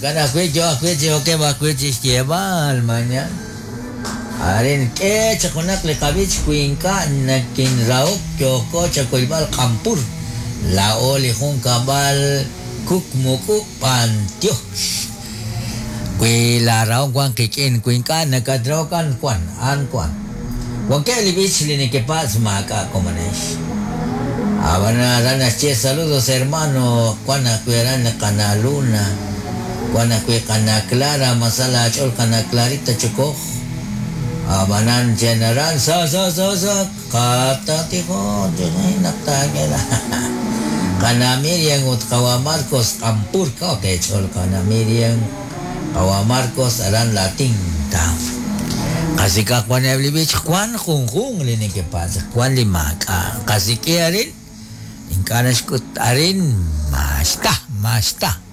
Jo'kan ajwi' yo ajwi' chi okeb' ajwi' chi xyeeb'al mañana. Arin k'e chaq junaq li qab'ich wi ink'a' nakinrahok yooko chakuyb'al q'ampur. Laa'o li junkab'al Kukmuk'u b'antiox. Wi laarahom wank qik'in, wi ink'a' nakatrahok an wan, an wan. Wankeb' li b'ich li nekepatz' maak'a' komonex. Ab'an aran naxye saludos hermano, wan ajwi' aran li qana' Luna, wan ajwi' qana' Clara, masal aach'ool qana' Clarita Chokoj. Ab'anan chen aran sa sa sa sa qatatijon naq taak'e Qana' Miriam ut qawa' Marcos Q'ampur kaw teech'ool qana' Miriam qawa' Marcos aran La Tinta. Qasik'aq wan eb' li b'ich wan junjunq li nekepatz' wan li maak'a' qasik'i arin ink'a' naxk'ut arin maxta maxta.